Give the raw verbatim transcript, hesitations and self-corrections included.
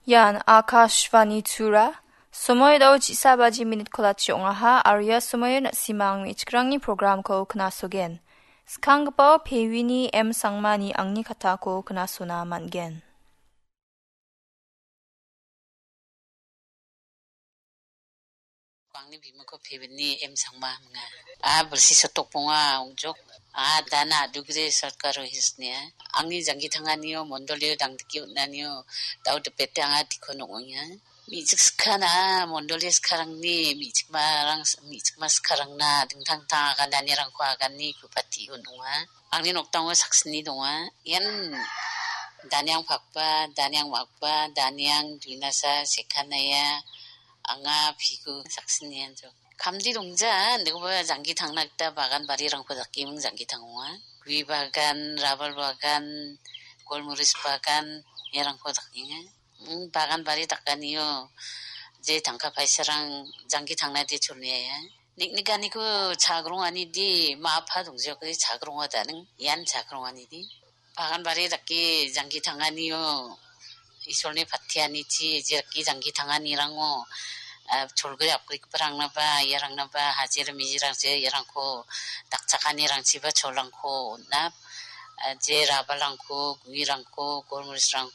Ian Akashvani Tura. Somoidao chisa baji minit kolachi ong·aha, aro ia somoio na·simang me·chikrangni programko knasogen. Skanggipao Pewini M Sangmani angni katako knasona man·gen. Angni bimingko Pewini M Sangma ong·a. A, bilsi sotokbonga ong·jok. A, dana dugre sorkaro hisnia. Angni janggi tanganio, mondolio dangdike on·anio, dao dipete anga dikon ong·enga. Me·chik skana, mondoli skarangni, me·chikmarang, me·chikma skarangna, dingtang tang agananirangko agani kupati on·onga. Angni nokdango saksni donga. Ian Daniang Pakpa, Daniang Makpa, Daniang Duinasa, Sekanaya, anga Pigu saksni anjo. Kamdi dongja, nikoba janggi tangna gita bagan barirangko dakeming janggi tangonga. Gui bagan, rabal bagan, golmoris bagan, iarangko dakenga. Mm, bagan bari dakanio, je tangka paisarang janggi tangnade cholniaia. Niknikaniko chagrongani di, ma·a pha dongjokde chagrongadaning, ian chagrongani di. Bagan bari dake janggi tanganio, Isolni patianichi, je dake janggi tanganirango, ah, cholgri apgrikgiparangnaba, iarangnaba, hajir mijirangje, iarangko dakchakanirangchiba cholrangko on·a, ah, je rabalrangko, guirangko, golmorisrang